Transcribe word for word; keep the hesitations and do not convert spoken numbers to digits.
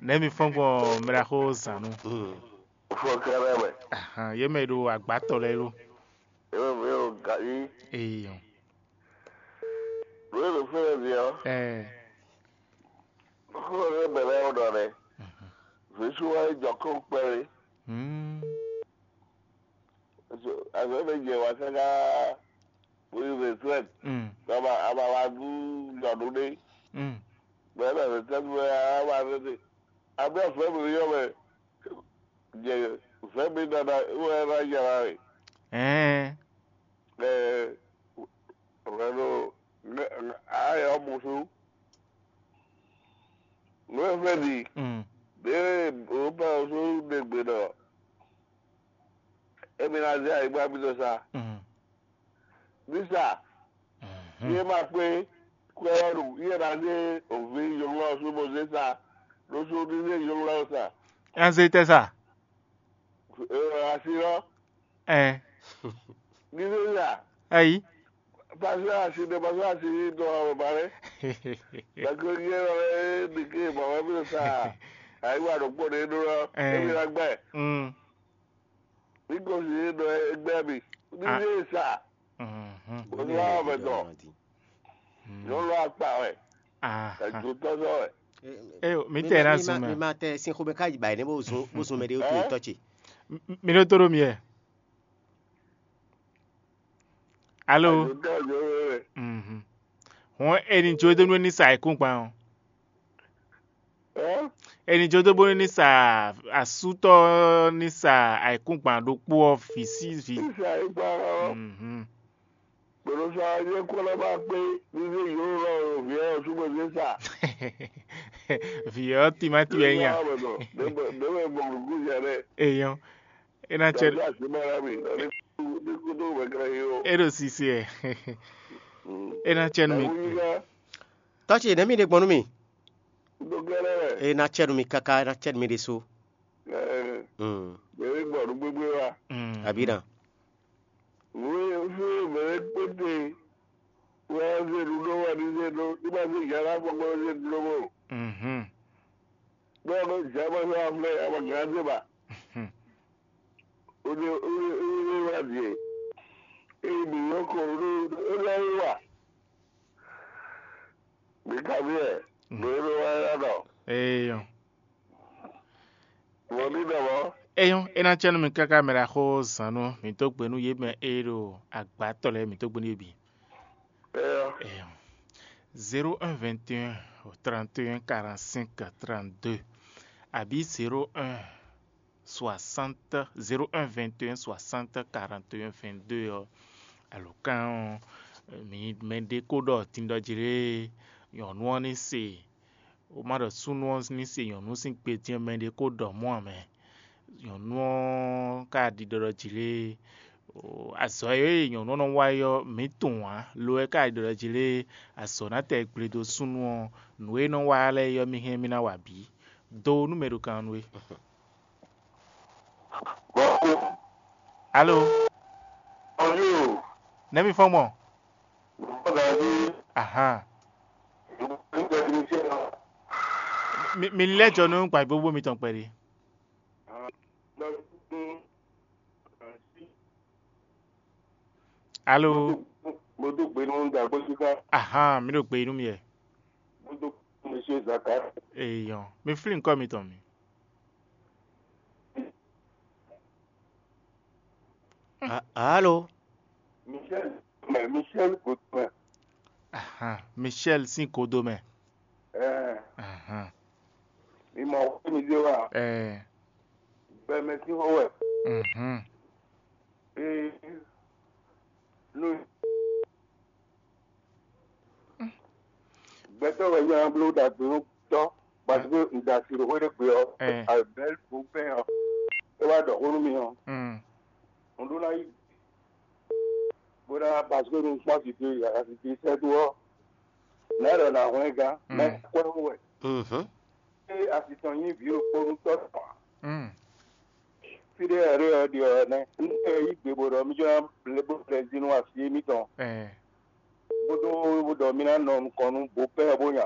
Nɛ̌ mi fɔ́n gbɔn mɛɖaxó zǎn nu? Fɔnkɛrɛ mɛ. Ahan, yě mɛ e ɖo agbátɔ lɛ́ɛ lo. Ewé mi o gayi. Eyɔn. Lóye ló fẹ́ lɛ zi ɔ. Ɛɛ. Xó lɛ bɛ lɛ o ɖɔ lɛ. Vǐ sú wá yi jɔ kó kpɛlí. Hmm. Azɔ bɛ jɛ wá káká. Bóyá retraite. Hmm. Bàbá abala dú jɔ ɖó ɖé. Hmm. Bẹ́ẹ̀ bẹ́ẹ̀ retraite bẹ́ẹ̀ abala tètè. Abẹ́ ọ̀fẹ́ mi yọ mɛ. Jẹ fẹ́ mi dada wẹ́ ẹ ná yàrá rẹ̀. Ɛɛ. Ɛ rẹ ló ayɔ musu. Ló ẹ fẹ́ di. Hmm. Bẹ́ẹ̀ o bá o sún ɖe gbe ɖɔ. Emi ná zé ayǐgba mitɔn sa. Mhm. Mísa, mhm, yé ma kpé kwɛ́ ɔ́ ɖu, yé ná zé òvi yɔnglɔ́ ɔ́ sú bó zé sa ɖó sú ní zé yɔnglɔ́ ɔ́ sa. Ɛ zé tɛ sa. Ee, asi ɔ́, Ɛ. Ní zé sa. Ayi. Pasó asi ɖe, pasó asi ní tɔ ɔ́ ba lɛ. Gbàgbé yé lɔ é ɖi ké bɔ wɛ bí sa. Ayǐgba ɖokpó ɖé ɖó lɔ. Ɛ. Emi ná gbɛ. Mm. Ní gosín é ɖɔ égbé mi. Ní Ah. Yé sa. Mhm. Bó ní wá wá mɛ tɔn. Nyɔnu akpa wɛ. Aha. Ẹ̀dùn tɔ́sọ́ wɛ. Eyo, mi tɛ na zun mɛ. Mi ma tɛ sin xomɛ ká yi ba yi ne bó zun bó zun mɛ ɖé wótó Ɛ? Tɔ́ ce. M- m- Mi ɖó tó ɖó mi yɛ. Alo. Ẹ̀dùn tɔ́sọ́ wɛ. Mhm. Hɔn eni jó dó nú ní sa ayǐkúngban ɔ́. Ɛ? Eni jó dó bónú ní sa asútɔ́ ní sa ayǐkúngban ɖokpó ɔ́ vǐ sí vǐ. Ní sa ayǐkúngban ɔ́. Mhm. Gbɔdɔ sa ayé kó lɔ bá pé ní zé yǒ lɔ vǐ ɔ́ súnmọ́ zé sa. Vǐ ɔ́ timáti wɛ nya. Ɖé mɛ mɔ nǔgbó nya ɖɛ. Eyɔn. É ná cɛ. Dɔ̌ así mɛ rɛ mi ní kúdó wɛ kɛlɛ yó. É ɖo sisi ɛ. É ná cɛ nú mi. Tɔ́ ce nɛ̌ mi ɖe gbɔn nú mi? Ɖo kɛlɛ wɛ. É ná cɛ nú mi káká, é ná cɛ nú mi ɖésú. Ɛ Mm. Bɛ mi gbɔ nú gbégbé wa. Mm. Abǐ ná. Wé fún bɛ mi kpéte. Wá zé ɖuɖó wá ní zé ɖó ní bá zé yàrá gbɔgbɔ zé ɖuɖó mɔ. Mhm. Bẹ́ẹ̀ ló jẹ́ bá sọ afúnlẹ̀ ẹ̀ máa gán dé bá. Mhm. Ó ní ó ní ó ní wá diẹ. Èyí mi yóò kọ ó ní ó ní ó wà. Mi ka bí ẹ̀ mi ó ní wá yá nọ. Eyɔn. Wọ́n ní dọ̀bọ̀. Eyɔn, é ná cɛ nú mi káká mɛ ɖaxó zǎn nú mi dó gbe nú yě mɛ e ɖo agbátɔ lɛ́ɛ mi dó gbe nú yě bǐ. Eyɔn. Eyɔn. Zéro un vingt et un trente et un quarante-cinq trente-deux. Abǐ zéro un soixante, zéro un vingt et un soixante quarante et un vingt-deux ɔ́. Alǒkan ɔ́, mi mɛɖé kó ɖɔ tindɔ́ jí lé nyɔ̌nu ɔ́ ní se. Wǒ má ɖɔ súnnu ɔ́ ní se nyɔ̌nu sín gbe dín mɛɖé kó ɖɔ mɔ̌ ǎ mɛ. Nyɔ̌nu ɔ́ ka ɖiɖɔ ɖɔ jí lé. Azɔ̌ e nyɔ̌nu ɔ́ nɔ wa é ɔ́, mǐ tunwun ǎ. Lo ɔ́, é ka ɖiɖɔ ɖɔ jí lé. Azɔ̌ ná tɛ gble dó súnnu ɔ́, nǔ e nɔ wa lɛ́ɛ é ɔ́, mì hɛn mì ná wa bǐ. Do nú mɛ ɖo kan nú we. Alo. Nɛ̌ mi fɔ́n gbɔn? Ahan. Mi, mi lɛ́ jɔ nú gbǎgbógbó mitɔn kpɛɖé. Alo. Mo dó gbe nú Dàgbójúká. Ahan, mi ɖo gbe nú mi yɛ. Mo dó gbe nú Monsieur Zaka. Eyɔn, mi flin kɔ mitɔn mi. A- Alo. Michel, mais Michel Gauthier. Ahan, Michel sín kodo mɛ. Ɛɛ, Ahan. Mi mɔ xó mi dé wa. Ɛɛ. Bɛmɛ sín xó wɛ. Mhm. Ee, nu. Gbɛtɔ́ wɛ nyí bló ɖagbe nú tɔ́, parce que un da asi ɖo xwé ɖé gbe ɔ́, Ɛɛ. Abel Bopin ɔ́, é wá ɖɔ xó nú mi ɔ́, Mm. un ɖó ná yí bó ná, parce que un kpɔ́n asi ce, asi ce sɛ́ dó ɔ́, nɛ̌ ɖɔ nǎ hwlɛ́n gán, Mm. Mɛ kwɛ́ wɛ. Mhm. Ée asi tɔn nyí vǐ ɖokpó nú tɔ́ tɔn ǎ. Mm. Fí ɖé wɛ ɖé ɔ́ ɖe ɔ́ nɛ́. Un ɖe yí gbe bó ɖɔ mí jɔ ná blé bó blɛ́ jí nú asi émítɔn. Ɛɛ. Bó dó bó ɖɔ mí ná nɔ nukɔn nú bó pɛ́ ɔ́ bó nya.